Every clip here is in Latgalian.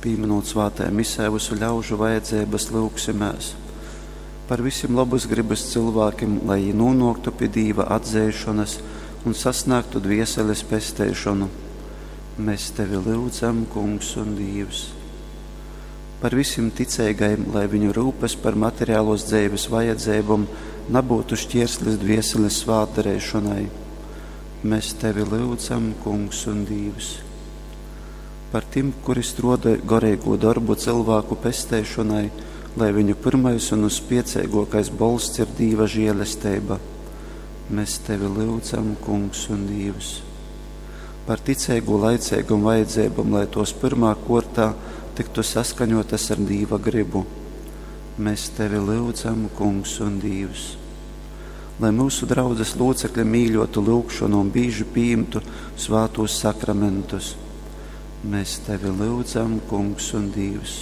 Pīminūt svātajā misē vysu ļaužu vajadzeibas, lyugsimēs par visim lobas grybas cylvākim, lai jī nūnōktu pi Dīva atzeišonas un sasnāgtu dvieseles pesteišonu. Mēs tevi lyudzam, Kungs un Dīvs. Par visim ticeigajim, lai viņu rūpes par materiālos dzeives vajadzeibom nabūtu šķierslis dvieseles svātdareišonai. Mēs tevi lyudzam, Kungs un Dīvs. Par tim, kuri strodoj goreigū dorbu cylvāku pesteišonai, lai viņu pyrmais un uzspieceigōkais bolsts ir Dīva žielesteiba. Mēs tevi lyudzam, Kungs un Dīvs. Par ticeigu laiceigom vajadzeibom, lai tos pyrmā kortā tiktu saskaņotas ar Dīva gribu. Mēs tevi lyudzam, Kungs un Dīvs. Lai mūsu draudzes locekļi mīļotu lūgšanu un bīži pieņemtu svātos sakramentus. Mēs tevi lyudzam, Kungs un Dīvs.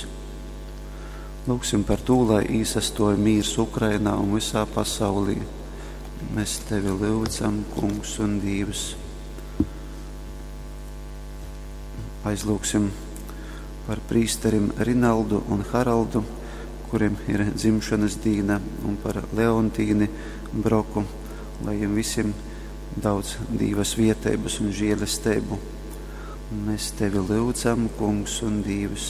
Lūgsim par to, lai īsastoja mīrs Ukrainā un visā pasaulī. Mēs tevi lyudzam, Kungs un Dīvs. Aizlūgsim par prīsterim Rinaldu un Haraldu, kuriem ir dzimšanas dīna, un par Leontīni Broku, lai jiem visiem daudz Dīva svietības un žēlestību. Mēs tevi lyudzam, Kungs un Dīvs.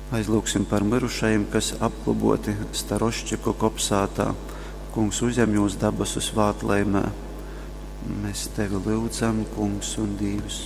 Aizlūgsim par mirušajiem, kas apglaboti Staroščiku kopsātā. Kungs uzņem jūs dabasu svātlaimē. Mēs tevi lyudzam, Kungs un Dīvs.